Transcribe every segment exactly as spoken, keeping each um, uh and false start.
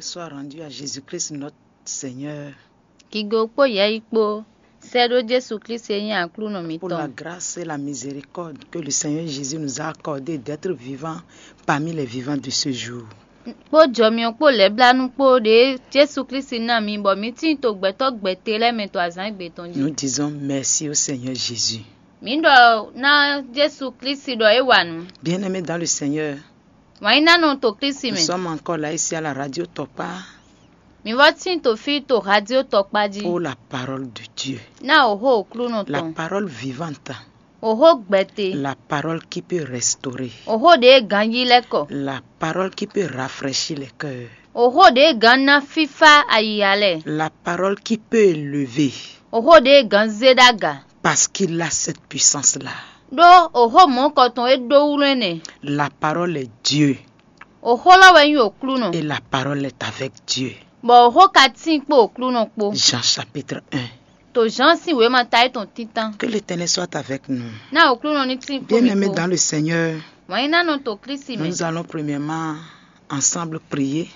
Soit rendu à Jésus-Christ notre Seigneur. Gigo kpó yɛyi kpó sɛ́ ɖó Jezu Klísu e nyí Aklúnɔ pour la mǐtɔn. Grâce et la miséricorde que le Seigneur Jésus nous a accordé d'être vivants parmi les vivants de ce jour. Kpó jɔmyɔ kpó lɛ̌blánú kpó ɖě Jezu Klísu ná mi bɔ mi tíin to gbɛtɔ́ gbɛte lɛ́ɛ mɛ to azǎn gbe tɔn jí. Nous disons merci au Seigneur Jésus. Mǐ ɖɔ ná Jezu Klísu ɖɔ é wa nǔ. Bien-aimés dans le Seigneur, Wǎn yí ná nɔ to Klísu nous mɛ. Sommes encore là ici à la radio Tokpa. Mi vɔ tín to fí to radio Tokpa jí. Oh, la parole de Dieu. Ná òhó Aklúnɔ tɔn. La parole vivante. Òhó gbɛte. La parole qui peut restaurer. Òhó ɖě ganjí lɛ́ kɔ. La parole qui peut rafraîchir les cœurs. Òhó ɖě gán ná fífá ayiya lɛ́ɛ. La parole qui peut élever. Òhó ɖě gán zé ɖó aga. Parce qu'il a cette puissance-là. Ɖó òhó mɔ̌kɔ tɔn é ɖó wlɛ́n nɛ. La parole est Dieu. Òhó lɔ wɛ nyí Aklúnɔ. Et la parole est avec Dieu. Bɔ òhó ka tíin kpó Aklúnɔ kpó. Jean chapitre un. To Jean sín wěma ta é tɔn títán. Que l'Éternel soit avec nous. Ná Aklúnɔ ní tíin kpó mi kpó. Bien-aimés dans le Seigneur, Wǎn yí ná nɔ to Klísu mɛ. Nous allons premièrement ensemble prier.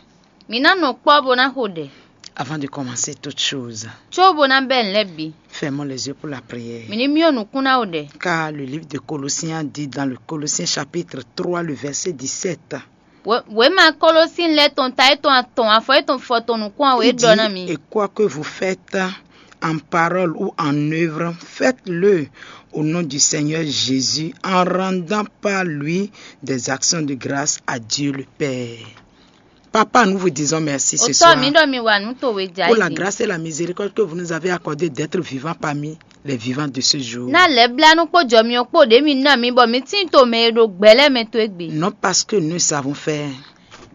Mǐ ná nɔ kpɔ́ bó ná xo ɖɛ. Avant de commencer toute chose, Có bó ná bɛ́ nǔ lɛ́ɛ bǐ. Fermons les yeux pour la prière. Mǐ ní myɔ nukún ná xo ɖɛ. Car le livre de Colossiens dit dans le Colossiens chapitre trois, le verset dix-sept, Wě- Wěma Kolosín lɛ́ɛ tɔn ta é tɔn atɔn afɔ é tɔn fɔ tɔn nukún ɔ́ wě il dit, ɖɔ ná mi. Et quoi que vous faites en parole ou en œuvre, faites-le au nom du Seigneur Jésus en rendant par lui des actions de grâce à Dieu le Père. Papa, nous vous disons merci ce Otɔ soir mi ɖɔ mi wa nǔ to we ja pour la yi. Grâce et la miséricorde que vous nous avez accordé d'être vivants parmi les vivants de ce jour. Ná lɛ̌blánú kpó jɔmyɔ kpó ɖě mi ná mi bɔ mi tín to mɛ e ɖo gbɛ lɛ́ɛ mɛ to égbé. Non parce que nous savons faire,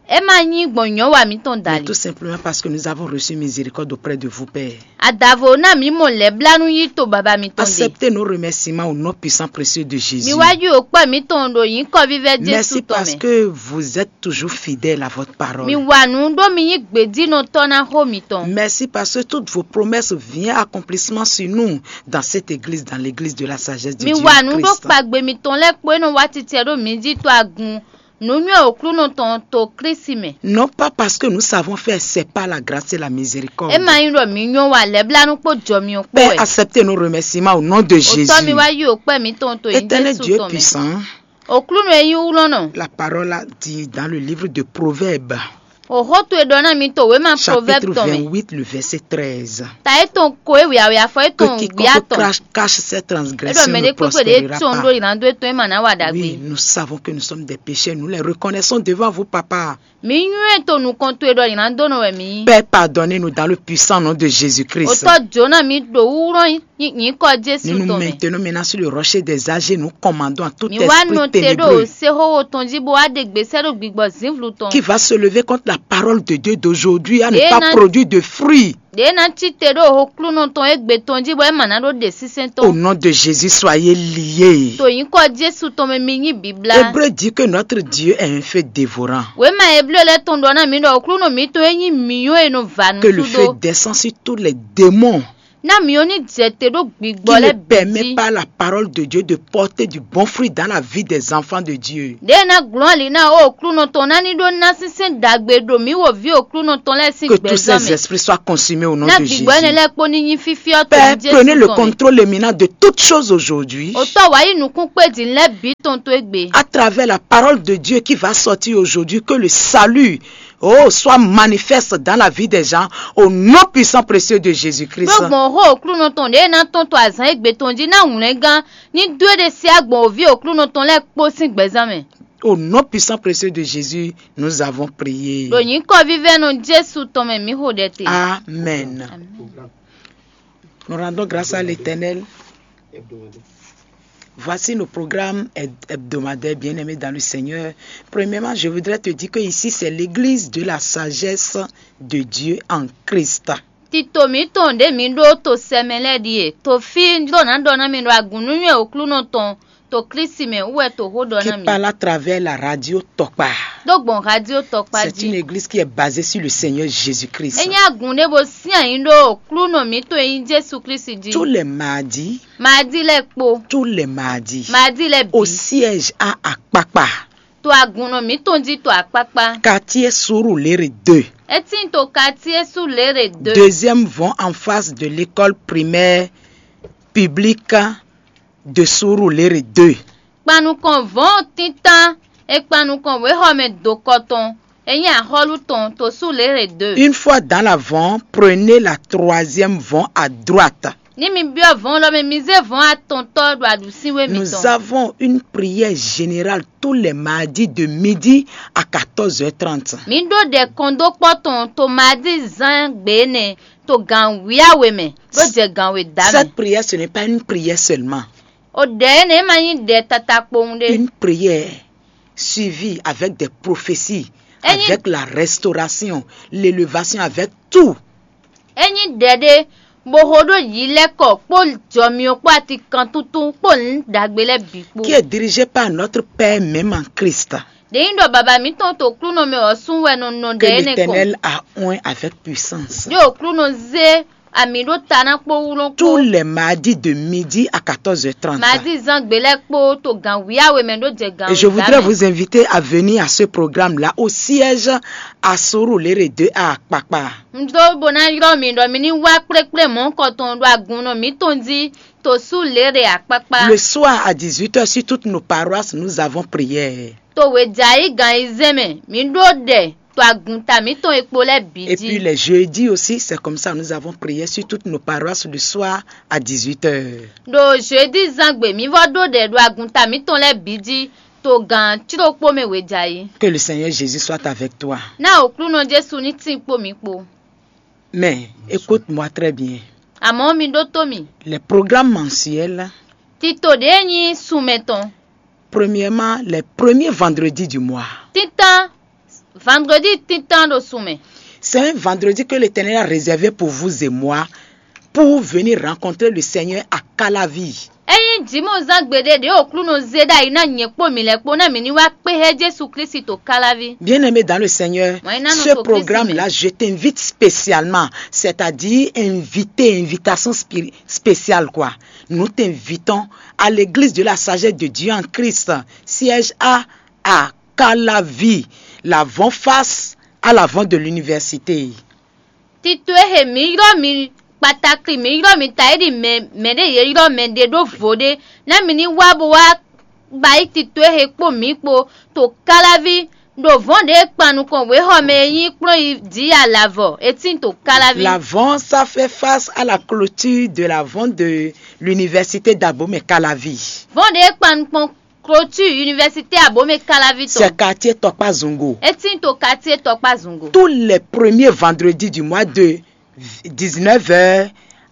É ma nyí gbɔn nyɔ̌ wa mǐtɔn da mais li. Tout simplement parce que nous avons reçu miséricorde auprès de vous, Père. Adavo ná mi mɔ lɛ̌blánú yí to baba mitɔn ɖe. Acceptez nos remerciements au nom puissant précieux de Jésus. Mi wá yí òkpɛ mitɔn ɖo nyǐkɔ vívɛ́ Jesu Merci tɔn parce mɛ. Que vous êtes toujours fidèle à votre parole. Mi wa nǔ ɖó mi nyí gbědínɔtɔ́ ná xó mitɔn. Merci parce que toutes vos promesses viennent accomplissement sur nous dans cette église, dans l'église de la sagesse de Mi Dieu wa nǔ ɖó Christ. Kpagbe mitɔn lɛ́ɛ kpó é nɔ wá titɛ ɖó mi jí to agun nǔnywɛ́ Aklúnɔ tɔn to Klísu mɛ. Non pas parce que nous savons faire, c'est par la grâce et la miséricorde. É ma nyí ɖɔ mi nyɔ́ wa lɛ̌blánú kpó jɔ mi ɔ́ kpó Père, wɛ. Acceptez nos remerciements au nom de Jésus. Otɔ́ mi wá yí òkpɛ mitɔn to nyí Éternel Jesu Dieu tɔn mɛ. Puissant, Aklúnɔ e nyí wlɔ́nɔ. La parole a dit dans le livre de Proverbes, Òxó towe ɖɔ ná mi to wěma Proverbe chapitre tɔn mɛ. Vingt-huit, le verset treize. Ta é tɔn ko é wěyáwě afɔ é Que tɔn quiconque gbéa tɔn. Crache, cache ses É ɖɔ transgressions mɛ ne ɖé kpékpé ɖé prospérera tɔn ɖó pas. Yǐlán dó é tɔn é ma ná wa ɖagbe. Oui, nous savons que nous sommes des pécheurs, nous les reconnaissons devant vous, Papa. Mi nywɛ́ to nukɔn towe ɖɔ yǐlán dó nɔ wɛ mi nyí. Père, pardonnez-nous dans le puissant nom de Jésus-Christ. Otɔ́ jǒ ná mi ɖo wúwlɔ́n nyǐkɔ Jesu Nous nous tɔn mɛ. Maintenons maintenant sur le rocher des âgés, nous commandons à tout Mi wá esprit nɔ te ɖo ténébreux séxóxó tɔn jí bó wá ɖe gbèsè ɖo gbigbɔ zǐnvlu tɔn. Qui va se lever contre la parole de Dieu d'aujourd'hui à ne Ɖě pas ná- produire de fruits. Ɖě ná cí te ɖo Aklúnɔ tɔn égbé tɔn jí bɔ é ma ná ɖó ɖe sínsɛ́n Au tɔn. Nom de Jésus, soyez liés. To nyǐkɔ Jesu tɔn mɛ mi nyí bǐblá. Hébreu dit que notre Dieu est un feu dévorant. Wěma Eblé lɛ́ɛ tɔn ɖɔ ná mi ɖɔ Aklúnɔ mǐtɔn é nyí mǐyɔ́ e nɔ va nǔ Que le feu súdó. Descend sur tous les démons Ná mǐ ɔ́ ní jɛ te ɖó gbigbɔ qui ne lɛ́ɛ bǐ permet jí. Pas la parole de Dieu de porter du bon fruit dans la vie des enfants de Dieu. Ɖěe ná glɔ́n ali ná ó Aklúnɔ tɔn ná ní ɖó ná sínsɛ́n ɖagbe ɖo mǐ wo vǐ Aklúnɔ tɔn lɛ́ɛ sín Que tous gbɛzán ces mɛ. Esprits soient consumés au nom Ná de Jésus. Gbigbɔ énɛ́ lɛ́ɛ kpó ní nyí fífyɔ́ to Père, nyí Jesu prenez le tɔn mɛ. Contrôle maintenant de toutes choses aujourd'hui. Otɔ́ wǎ yí nukún kpé din lɛ́ɛ bǐ tɔn tó égbé. À travers la parole de Dieu qui va sortir aujourd'hui, que le salut, oh, soit manifeste dans la vie des gens, au nom puissant précieux de Jésus-Christ. Ɖó gbɔn xó Aklúnɔ tɔn ɖě ná tɔn to azǎn égbé tɔn jí ná wlɛ́ngán ní dó é ɖe sí agbɔ̌n òví Aklúnɔ tɔn lɛ́ɛ kpó sín gbɛzán mɛ. Au nom puissant précieux de Jésus, nous avons prié. Ɖo nyǐkɔ vívɛ́nɔ Jesu tɔn mɛ mǐ xo ɖɛ te. Amen. Amen. Nous rendons grâce à l'Éternel. Voici nos programmes heb- hebdomadaires, bien-aimés dans le Seigneur. Premièrement, je voudrais te dire que ici, c'est l'église de la sagesse de Dieu en Christ. Tito mǐtɔn ɖě mi ɖó to sɛmɛ lɛ́ɛ ɖíe to fí ɖó ná ɖɔ ná mi ɖo agun nú nywɛ́ Aklúnɔ tɔn to Klísu mɛ wú wɛ to xó ɖɔ Qui ná mi. Parle à travers la radio Tokpa. Ɖó gbɔn radio Tokpa jí. C'est une église qui est basée sur le Seigneur Jésus-Christ. É nyí agun ɖé bó sín ayǐ ɖó Aklúnɔ mǐtɔn e nyí Jesu Klísu jí. Tous les mardis. Mardí lɛ́ɛ kpó. Tous les mardis. Mardí lɛ́ɛ bǐ. Au siège à Akpakpa. To agun nɔ mǐtɔn jí to akpákpá. Quartier Surulere deux. É tíin to quartier Surulere deux. Deuxième vont en face de l'école primaire publique de Surulere deux. Kpanukɔn vɔ̌n tíntan e kpanukɔn wěxɔmɛ dokɔ tɔn e nyí axɔ́lú tɔn to Surulere deux. Une fois dans la vont, prenez la troisième vont à droite. Ní mi byɔ́ vɔ̌n lɔ mɛ, mi zé vɔ̌n atɔntɔ́ ɖo aɖǔsínwé Nous mitɔn. Avons une prière générale tous les mardis de midi à quatorze heures trente. Mǐ ɖó ɖɛ kɔndókpɔ́ tɔn to Maadi zán gbě énɛ́ to gan wǐyáwe mɛ ɖó jɛ gan we dǎ mɛ. Cette prière, ce n'est pas une prière seulement. O ɖɛ énɛ́ ma nyí ɖɛ tata kpowun ɖé. Une prière suivie avec des prophéties, Ényí- avec la restauration, l'élévation, avec tout. É nyí ɖɛ ɖé bó xo ɖó yǐ lɛ́ kɔ kpó jɔmyɔ kpó atikantuntun kpó nǔ ɖagbe lɛ́ɛ bǐ kpó. Qui est dirigée par notre Père même en Christ. Ɖě nyí ɖɔ baba mǐtɔn to klúnɔ mɛ ɔ́ sún wɛ nɔ nɔ ɖɛ Que énɛ́ kpɔ́n. L'Éternel a oint avec puissance. Ɖé o klúnɔ zé ami ɖó ta ná kpó wú lɔn Tous kpó. Les mardis de midi à quatorze heures trente. Mazi zán gbě lɛ́ɛ kpó to gan wǐyáwe mɛ ɖó jɛ gan Et je voudrais wǐyá mɛ. Vous inviter à venir à ce programme-là au siège à Surulere deux à Kpakpa. Un dó bó ná ylɔ́ mi ɖɔ mi ní wá kplékplé mɔ̌hunkɔtɔn ɖo agun nɔ mǐtɔn jí to sú lě ɖe akpákpá. Le soir à dix-huit heures, sur toutes nos paroisses, nous avons prière. To wějǎ yí gan ayizɛ́n mɛ, mǐ ɖó ɖɛ to agunta mǐtɔn e kpo lɛ́ɛ bǐ Et puis jí. Les jeudis aussi, c'est comme ça, nous avons prière sur toutes nos paroisses le soir à dix-huit heures. Ɖo jeudi zán gbe mǐ vɔ́ ɖó ɖɛ ɖo agunta mǐtɔn lɛ́ɛ bǐ jí to gan cíɖokpó mɛ wějǎ yí. Que le Seigneur Jésus soit avec toi. Ná Aklúnɔ Jesu ní tín kpó mǐ kpó. Mais écoute-moi très bien. Amɔ̌ mi ɖótó mì. Les programmes mensuels, Tito ɖě nyí sunmɛ tɔn. Premièrement, les premiers vendredis du mois. Títán vendredi títán ɖo sunmɛ. C'est un vendredi que l'Éternel a réservé pour vous et moi, pour venir rencontrer le Seigneur à Calavi. Ényí jǐmɔzán gbeɖé ɖě Aklúnɔ zé ɖ'ayǐ ná nyɛ kpó mǐ lɛ́ɛ kpó ná mǐ ní wá kpé xá Jezu Klísu to Káláví. Bien-aimé dans le Seigneur, Wǎn yí ná nɔ ce to Klísu programme-là, mɛ. Je t'invite spécialement, c'est-à-dire invité, invitation spiri- spéciale quoi. Nous t'invitons à l'église de la sagesse de Dieu en Christ, siège A à Calavi, l'avant-face à l'avant de l'université. Tito e xe mǐ ylɔ́ mi kpatakli mǐ ylɔ́ mi ta é ɖi mɛ mɛɖé yě ylɔ́ mɛ ɖé ɖó vo ɖé ná mi ní wá bó wá ba yí tito e xe kpó mǐ kpó to Káláví ɖo vɔ̌n ɖě e kpan nukɔn wěxɔ mɛ e nyí kplɔ́n yi jǐ alavɔ é tín to Káláví. L'avant ça fait face à la clôture de l'avant de l'université d'Abomey Calavi. Vɔ̌n ɖě e kpan nukɔn clôture université Abomey Káláví tɔn. C'est quartier Tɔkpá Zungo. É tín to quartier Tɔkpá Zungo. Tous les premiers vendredis du mois de dix-neuf heures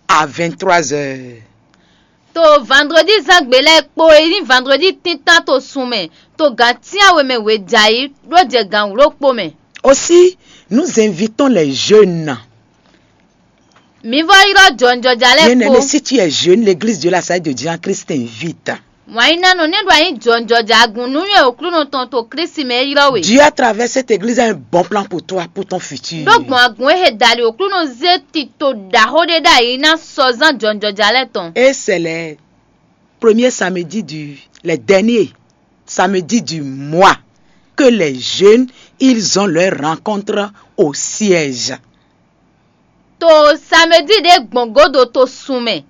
à vingt-trois heures. To vendredi zán gbe lɛ́ɛ kpó é nyí vendredi tíntan to sun mɛ to gǎn tínyawe mɛ wějǎ yi ɖó jɛ gǎn wló kpó mɛ. Aussi, nous invitons les jeunes. Mǐ vɔ́ ylɔ́ jɔnjɔja lɛ́ɛ Bien-aimé, kpó. Si tu es jeune, l'église de la Salle de Dieu en Christ t'invite. Wǎn yí ná nɔ nɛ́ ɖo anyí jɔnjɔja agun nú nywɛ́ Aklúnɔ tɔn to Klísu mɛ é ylɔ́ we. Dieu à travers cette église a un bon plan pour toi, pour ton futur. Ɖó gbɔn agun e xe dali Aklúnɔ zé tito ɖaxó ɖé ɖ'ayǐ ná sɔzán jɔnjɔja lɛ́ɛ tɔn. Et c'est les premiers samedis du, les derniers samedis du mois que les jeunes, ils ont leur rencontre au siège. To samedi ɖé gbɔn godo to sun mɛ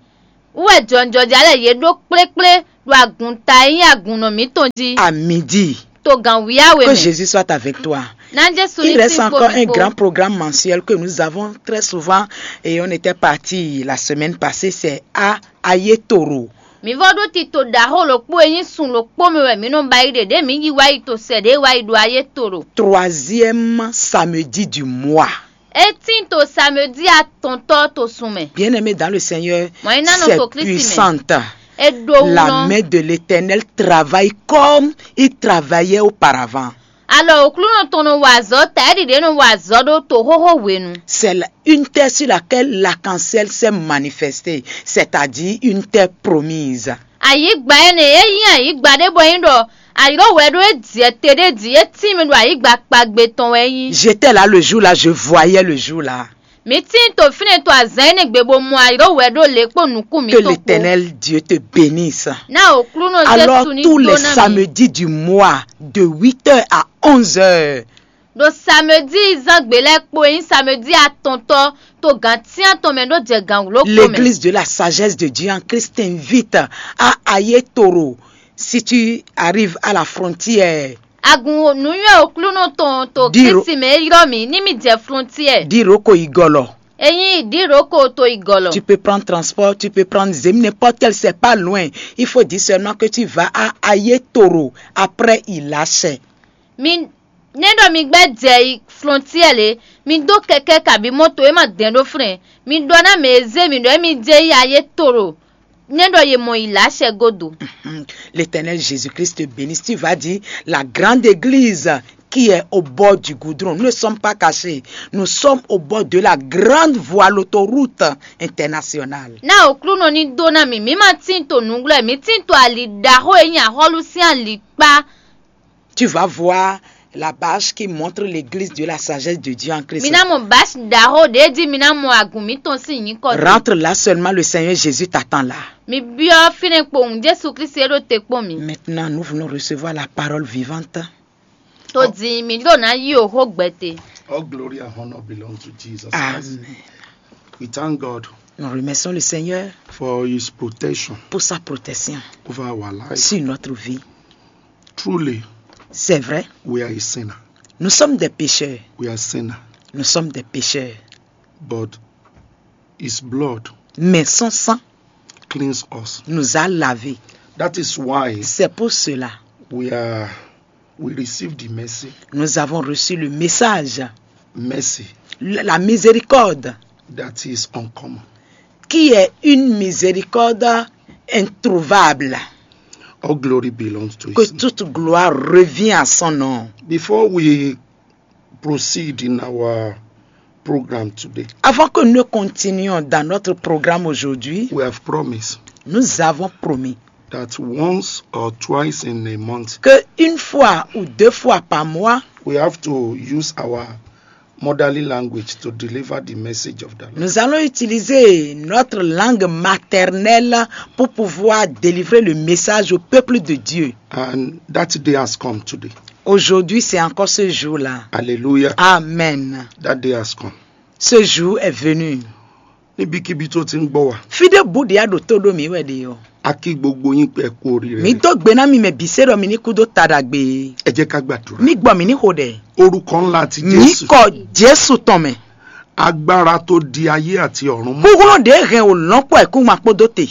wú wɛ jɔnjɔja lɛ́ɛ yě ɖó kplékplé ɖo agunta e nyí agunnɔ mǐtɔn jí. À midi. To gǎn wíyáwe Que mɛ. Jésus soit avec toi. Ná Jesu ní Il reste tín kpó encore mi un kpó. Grand programme mensuel que nous avons très souvent et on était parti la semaine passée, c'est à Ayetoro. Mǐ vɔ́ ɖó tito ɖaxó ɖokpó e nyí sun ɖokpó mɛ wɛ mǐ nɔ ba yi ɖe ɖě mǐ yi wá yi to sɛ ɖě wá yi ɖo ayé to ɖo. Troisième samedi du mois. É tín to samedi atɔntɔ́ to sun mɛ. Bien-aimé dans le Seigneur, Wǎn yí ná nɔ c'est to Klísu mɛ. Puissante. É ɖó wú La nɔ. Main de l'Éternel travaille comme il travaillait auparavant. Alɔ Aklúnɔ tɔn nɔ wa azɔ̌ ta é ɖiɖě nɔ wa azɔ̌ ɖó to xóxó hwenu. C'est la- une terre sur laquelle l'arc-en-ciel s'est manifesté, c'est-à-dire une terre promise. Ayǐgba énɛ́ e nyí ayǐgba ɖé bɔ é nyí ɖɔ ayǐɖówɛ ɖó é jɛ te ɖé jí é tín mɛ ɖo ayǐgba kpagbe tɔn wɛ é nyí. J'étais là le jour-là, je voyais le jour-là. Mǐ tíin to fínɛ́ to azǎn énɛ́ gbe bó mɔ ayǐɖówɛ ɖó lě kpó nukún Que mǐtɔn kpó. L'Éternel Dieu te bénisse. Ná Aklúnɔ Alors, Jesu ní tous les dó ná mi. Samedis du mois, de huit heures à onze heures, Ɖo samedi zán gbe lɛ́ɛ kpo e nyí samedi atɔntɔ́ to gǎn cyán tɔn mɛ ɖó jɛ gǎn wló kpo mɛ. L'église de la sagesse de Dieu en Christ t'invite à aller toro si tu arrives à la frontière. Agun nǔnywɛ́ Oklúnɔ tɔn to Diro- Kristi mɛ e ylɔ́ mì ní mì jɛ flɔntiɛ. Diroko igɔlɔ. Ényí Diroko to igɔlɔ. Tu peux prendre transport, tu peux prendre Zem, n'importe quel, c'est pas loin. Il faut dire seulement que tu vas à Ayetoro, après Ilachè. Mi ne ɖɔ mi gbɛ́ jɛ yi flɔntiɛ lě, mi dó kɛkɛ́ kabí mɔto e ma dɛn ɖó flɛn. Mi ɖɔ ná mɛ e zé mi ɖɔ émí jɛ yi Ayetoro, ne ɖɔ ye mɔ yi lǎ acɛ godo. L'Éternel Jésus-Christ bénisse. Tu vas dire la grande église qui est au bord du goudron. Nous ne sommes pas cachés. Nous sommes au bord de la grande voie, l'autoroute internationale. Ná Oklúnɔ ní dó ná mi, mǐ ma tín to nǔglɔ́, mǐ tín to ali ɖaxó e nyí axɔ́lú sín ali kpá. Tu vas voir la bâche qui montre l'église de la sagesse de Dieu en Christ. Mi ná mɔ bási ɖaxó ɖě jí mi ná mɔ agun mǐtɔn sín nyǐkɔ dó. Rentre là seulement, le Seigneur Jésus t'attend là. Mi byɔ́ fínɛ́ kpowun Jesu Kristi e ɖo te kpɔ́n mi. Maintenant, nous voulons recevoir la parole vivante. Tó dín mi ɖó ná yí o xó gbɛtɛ. All glory and honor belong to Jesus Christ. Amen. We thank God Nous remercions le Seigneur for his protection pour sa protection over our life. Sur notre vie. Truly, c'est vrai, we are a sinner. Nous sommes des pécheurs. We are sinner. Nous sommes des pécheurs. But his blood, mais son sang, cleans us. Nous a lavés. That is why, c'est pour cela, we are, we receive the mercy. Nous avons reçu le message. Mercy. La, la miséricorde. That is uncommon. Qui est une miséricorde introuvable. All glory belongs to his name. Que toute gloire revient à son nom. Before we proceed in our program today, avant que nous continuions dans notre programme aujourd'hui, we have promised, nous avons promis, that once or twice in a month, que une fois ou deux fois par mois, we have to use our motherly language to deliver the message of the Lord. Nous allons utiliser notre langue maternelle pour pouvoir délivrer le message au peuple de Dieu. And that day has come today. Aujourd'hui, c'est encore ce jour-là. Hallelujah. Amen. That day has come. Ce jour est venu. Níbikíbi tó ti ń gbọ́ wa, fídé búdìá ɖo tó ɖó mǐ wɛ ɖe ɔ́. A kí gbogbo yín pé ẹ kú oríire. Mǐ dó gbe ná mi mɛ bǐ se ɖɔ mi ní kú dó ta ɖagbe. Ẹ jẹ́ ká gbàdúrà. Mí gbɔ mǐ ní xo ɖɛ. Orúkọ ńlá ti Jésù. Nyǐkɔ Jesu tɔn mɛ. Agbára tó di ayé àti ọ̀run mú. Kúkúrú ɖě hɛn wò lɔ́n kpó ẹ̀kúngban kpódó te.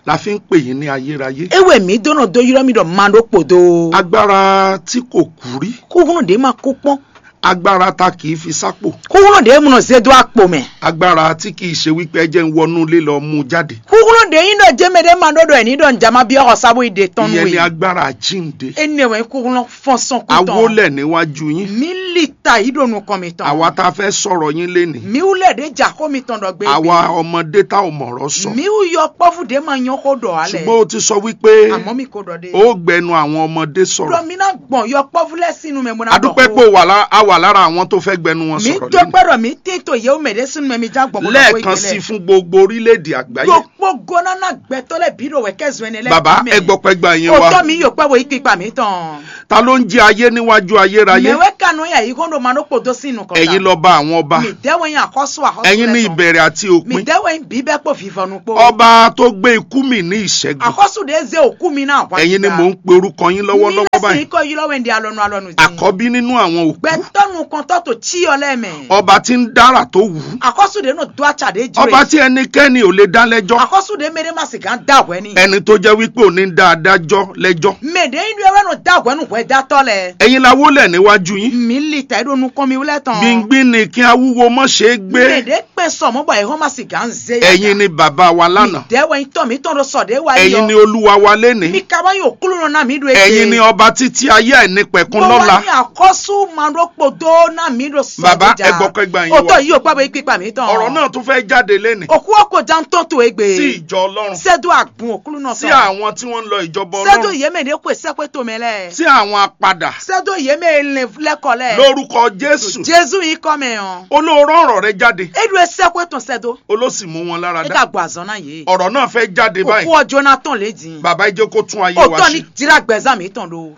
La fi ń pè yín ní ayérayé. É wɛ mǐ dó nɔ dó ylɔ́ mì ɖɔ ma ɖó kpo dó. Agbára tí kò kú rí. Kúkúrú ɖě ma kú kpɔ́n. Agbára ta kì í fi sápò. Kúkúrú ɖě mu nɔ zé dó akpo mɛ. Agbára tí kì í ṣe wípé ẹ jẹ́ ń wọnú ilé lọ mú jáde. Kúkúrú ɖě nyí ɖɔ jɛ́mɛ ɖé ma ɖó ɖɔ ẹ̀ ní ɖɔ ǹjá má byɔ́ xɔ sábó yi ɖe tɔn nú Ìyẹn ni we. Agbára àjíǹde. Énɛ́ wɛ kúkúrú fɔ́n sɔn kú tɔn. A wólẹ̀ níwájú yín. Mǐ li ta yí ɖo nukɔn mitɔn. Àwa tá a fẹ́ sọ̀rọ̀ yín lénìí. Mǐ wú lɛ ɖě jà xó mitɔn ɖɔ gbé. Àwa ọmọdé tá ò mọ̀rọ̀ sọ. Mǐ wú yɔkpɔ́vú ɖě ma nyɔ́ xó ɖɔ ǎ lɛ. Ṣùgbọ́n o ti sọ wípé Àmọ́ mi ko ɖɔ ɖé. Ó gbẹnu àwọn ọmọdé sọ̀rọ̀. Ɖɔ mi ná gbɔn yɔkpɔ́vú lɛ́ɛ sín nu mɛ bó ná A dúpẹ́ pé o wà lá-, a wà lára àwọn tó fẹ́ gbẹnu wọn Mi sọ̀rọ̀ tó lónìí. Gbọ́dọ̀ mi tí tó yẹ ó mẹ̀dé sínú mẹ́mí já gbọ̀gbọ̀ Lẹ́ẹ̀kan sí fún gbogbo orílẹ̀-èdè àgbáyé. Gbogbo gánà náà gbẹ̀tọ́ lẹ́ bí ɖo wẹ̀ kẹ́sùn ẹni lẹ́gbẹ̀ẹ́ Bàbá, mẹ́. Ẹ gbọ́ pẹ́ gba yín wá. Òótọ́ mi yóò pẹ́ wo yí pípa mi tán. Ta ló ń jẹ ayé níwájú ayérayé? Mẹ̀wé kanu yà yí kó ló ma ló kpòdó sí inú kọ̀ọ̀kan. Ẹ̀yin lọ́ba àwọn ọba. Mi dẹ́wọ̀ yín àkọ́sù àkọ́sù Ẹ̀yin ní lẹ́tọ̀ọ́. Ìbẹ̀rẹ̀ àti òpin. Mi dẹ́wọ̀ yín bí bẹ́ẹ̀ kó vivɔnu kpó. Ọba tó gbé ikú mi ní ìṣẹ́gun. Àkọ́sù dé zé òkú mi náà wá Ẹ̀yin ni síta. Mò ń pe orúkọ yín lọ́wọ́lọ́wọ́ Mi lẹ́sìn báyìí. Ikọ̀ yí lọ́wọ́ ẹ̀ndí alọ́nu alọ́nu dín. Àkọ́bí nínú àwọn òkú. Gbẹtɔnu kɔntɔ tó tí ọ lɛ mɛ. Ọba tí ń dára tó wù ú. Àkọ́sù dé nù dó àtsà dé jù. Ọba tí ẹnikẹ́ni ò lè dá lẹ́jọ́. Àkọ́sù dé mẹ́rẹ́ má sì gán dá wẹ́ ni. Ẹni tó jẹ́ wípé ò ní dá adájọ́ lẹ́jọ́. Mẹ̀dé inú ẹwẹ́ nù dá wẹ́ nù hwẹ́ dá tọ́ lẹ. Ẹ̀yin la wólẹ̀ níwájú yín. Mi lì tẹ́ ɖo nukɔn mi wúlẹ̀ tán. Gbingbin ni kí awúwo mọ́ ṣe é gbé. Mẹ̀dé pẹ́ sọ̀mọ́ bọ̀ ẹ̀họ́n má sì gán zé yá. Ẹ̀yin ni bàbá wa lánàá. Mi dẹ́ wẹ́ tọ́ mi tọ́ lọ sọ̀dẹ́ wa yọ. Ẹ̀yin ni olúwa wa lénìí. Mi ka wá yóò kúló nọ ná mi ɖo Ẹ̀yin ni ọba títí ayé àìnípẹ̀kun Mo lọ́la. Wá ní àkọ́sù máa ló kpòdó ná mi ɖo sọ̀dẹ́ Bàbá, jà. Ẹ gbọ́ pé gba yín wá. Òtọ́ yìí ò pẹ́ bó yí pípa mi tán. Ọ̀rọ̀ náà tún fẹ́ jáde lénìí. Òkú ọkọ̀ já ń tọ́ tó egbe. Sí ìjọ Ọlọ́run. Sẹ́dọ̀ àgùn òkúlù náà Sí tán. Àwọn tí wọ́n ń lọ ìjọba Sẹ́dọ̀ Ọlọ́run. Yémè dé kó sẹ́kpé tó mẹ́ lẹ̀. Sí àwọn apadà. Sẹ́dọ̀ yémè lè lẹ́kọ̀ọ́ lẹ̀. Lórúkọ Jésù. Jésù yìí kọ́ mẹ́ hàn. Olóòrò ọ̀rọ̀ rẹ jáde. Eɖo esɛxwe tɔn sɛ do. Oló sì mú wọn lára dá. Eka gbɔ azɔn na ye. Ọ̀rọ̀ náà fẹ́ jáde báyìí. Òkú ọjọ́ náà tán lé dín. Bàbá, ẹ jẹ́ kó tún ayé wa Òtọ́ ṣe. Ni jira gbẹ̀zán mi tán do.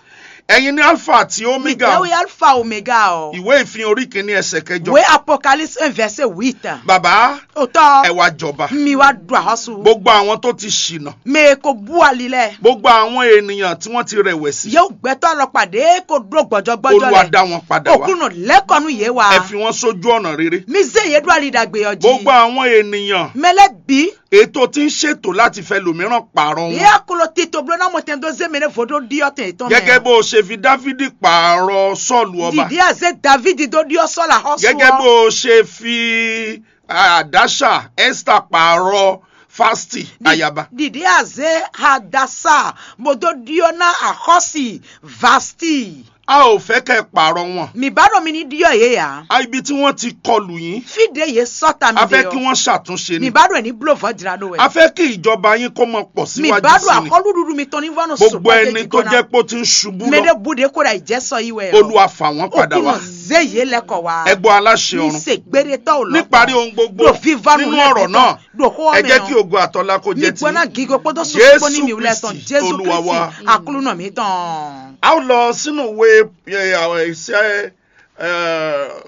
Ẹ̀yin ní Alpha àti Omega. Mìtẹ́wé Alpha Omega ɔ. Ìwé ìfihàn orí kìíní ẹsẹ̀ kẹjọ. Wé Apocalypse un verset huit. Bàbá, Òtọ́. Ẹ wá jọba. Mi wá ɖu àhɔ́sù. Gbogbo àwọn tó ti ṣìnà. Mɛ ko bú ali lɛ. Gbogbo àwọn ènìyàn tí wọ́n ti rẹ̀wẹ̀sì. Yóò gbẹ́tọ́ lọ pàdé kó dúró gbọ́jọ́gbọ́jọ́ Olúwa lɛ. Dá wọn padà wá. Òkúnnù lẹ́kọ̀ọ́nù yé wa. Ẹ fi wọ́n sójú ọ̀nà rere. Mi zé yé ɖó ali ɖagbe ɔ jí. Gbogbo àwọn ènìyàn. Mɛ lɛ bǐ. Ètò tí ń ṣètò láti fẹ́ lòmíràn pààrọ̀ wọn. Yé akolo tito bló ná mo tɛn dó zé mɛ ɖé vodó ɖiɔ tɛn tɔn mɛ. Gẹ́gẹ́ bó o ṣe fi Dávidi pààrọ̀ Sọ́ọ̀lù ọba. Dìde àzé David dó ɖiɔ Sọ́ọ̀lù àhɔ́sù. Gẹ́gẹ́ bó o ṣe fi Àdáṣà Esther pààrọ̀ Fásitì ayaba. Dìde àzé Hadasa bó dó ɖiɔ ná àhɔ́sì Vasti. A ò fẹ́ kẹ́ ẹ pààrọ̀ wọn. Mì bá ɖo mi ní ɖiɔ yě yá. A ibi tí wọ́n ti kọlù yín. Fí ɖě yě sɔ́ ta mi A fẹ́ ɖe kí ɔ. Wọ́n ṣàtúnṣe Mì ni. Bá ɖo ẹ̀ ní bló vɔ̌ jlá ɖó wɛ. A fẹ́ kí ìjọba yín kó mọ pọ̀ Mì síwájú bá ɖo sí ni. Àkɔlù ɖuɖu mitɔn ní vɔ́ nɔ Gbogbo sukpɔ́ ẹni tó jẹ́ pé ó ti ń ṣubú Mɛ lọ. Ɖé bu ɖě kó ɖo àyíjẹ́ sɔ yí wɛ ɔ. Olúwa fà wọ́n padà wá. Òkúnnù zé yě lɛkɔ wá. Ẹ gbọ́ aláṣẹ Mi ọ̀run. Se gbére tɔ́ ò lọ. Níparí ohun gbogbo, Níparí ohun gbogbo, nínú ọ̀rọ̀ náà, Ɖo xó ɔ́ ẹ mɛ jẹ́ ɔ. Kí ògo àtọ́lá kó jẹ́ Ní ti. Gbɔná gígo kpódó Jésù sukpó ní mi wulẹ̀ tɔn Kristi, Jésù Olúwa Kristi, wa. Àkúlù nɔ mǐtɔn. A ó lọ sínú ìwé, ẹ, ẹ, iṣẹ́, ẹ,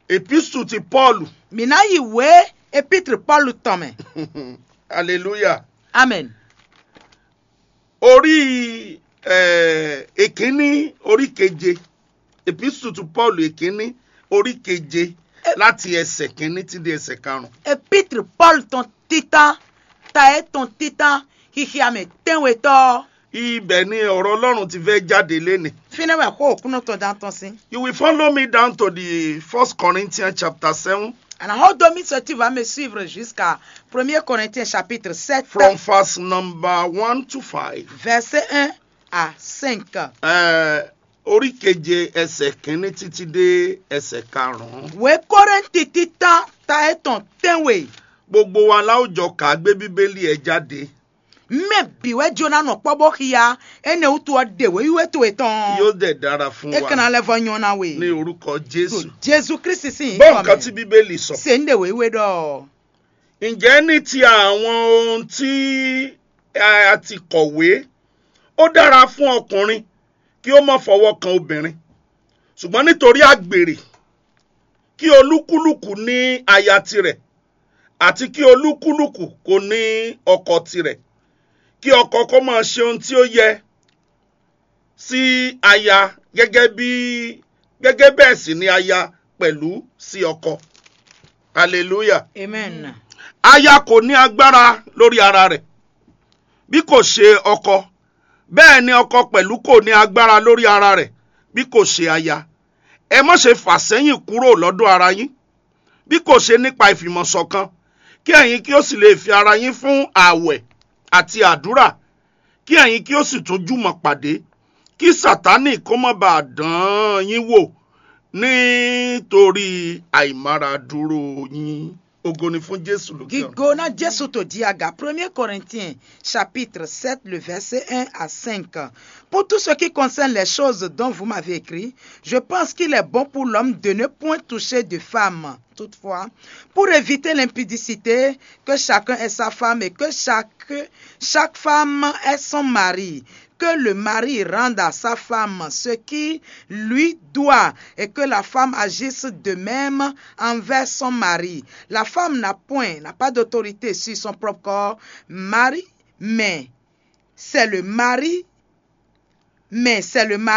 epístù ti Pọ́ọ̀lù. Mǐ ná yi wě epítri Pɔ́lu tɔn mɛ. Hallelujah. Amen. Orí, ẹ, èkíní, orí keje. Epístù ti Pọ́ọ̀lù èkíní, orí keje, láti ẹsẹ̀ kìíní títí di ẹsẹ̀ karùn-ún. Epítri Pɔ́lu tɔn títán, ta ɛ tɔn títán, xixia mɛ tɛ́nwetɔ́. Ibẹ̀ ni ọ̀rọ̀ Ọlọ́run ti fẹ́ jáde lénìí. Fínɛ́ wɛ xó òkúnɔ tɔn dán tɔn sín. You will follow me down to the First Corinthians chapter seven. Àná xó domi sɔ tí va mi suivre jusqu'à premier Corinthiens chapitre sept. From verse number one to five. Verset un à cinq. Ẹ, orí keje ẹsẹ̀ kìíní títí dé ẹsẹ̀ karùn-ún. Wě Kórɛ́ntì títán ta ɛ tɔn tɛ́nwe. Gbogbo wa la ó jọ kà gbé Bíbélì ẹ jáde. Mɛ bǐ wɛ jló ná nɔ kpɔ́ bó xia, énɛ́ wútu ɔ́ ɖe wěwíwé towe tɔn. Yóò dẹ̀ dára fún wa. É ka ná lɛ́ vɔ́ nyɔ́ ná we. Ní orúkọ Jésù. Jésù Kristi sín Gbọ́ nyǐkɔ nǹkan tí mɛ. Bíbélì sọ. Ṣe ń ɖe wěwíwé ɖɔ. Ǹjẹ́ ní ti àwọn ohun tí a ti kọ̀wé, ó dára fún ọkùnrin kí ó má fọwọ́ kan obìnrin, ṣùgbọ́n nítorí àgbèrè, kí olúkúlùkù ní aya tirẹ̀, àti kí olúkúlùkù kó ní ọkọ tirẹ̀, kí ọkọ kó máa ṣe ohun tí ó yẹ sí aya gẹ́gẹ́ bí, gẹ́gẹ́ bẹ́ẹ̀ sì ni aya pẹ̀lú sí ọkọ. Hallelujah. Amen. Aya kò ní agbára lórí ara rẹ̀, bí kò ṣe ọkọ. Bẹ́ẹ̀ ni ọkọ pẹ̀lú kò ní agbára lórí ara rẹ̀, bí kò ṣe aya. Ẹ má ṣe fà sẹ́yìn kúrò lọ́dọ̀ ara yín, bí kò ṣe nípa ìfìmọ̀ ṣọ̀kan, kí ẹ̀yin kí ó sì lè fi ara yín fún ààwẹ̀ àti àdúrà, kí ẹ̀yin kí ó sì tún jùmọ̀ pàdé, kí Sátánì kó má bàa dán yín wò nítorí àìmáradúró yín. Ògo ni fún Jésù lókè ọ̀run. Gigo na Jésù to diaga. Premier Corinthiens chapitre sept, le verset un à cinq. Pour tout ce qui concerne les choses dont vous m'avez écrit, je pense qu'il est bon pour l'homme de ne point toucher de femme. Toutefois, pour éviter l'impudicité, que chacun ait sa femme et que chaque, chaque femme ait son mari. Que le mari rende à sa femme ce qui lui doit et que la femme agisse de même envers son mari. La femme n'a point, n'a pas d'autorité sur son propre corps, mari, mais c'est le mari, mais c'est le mari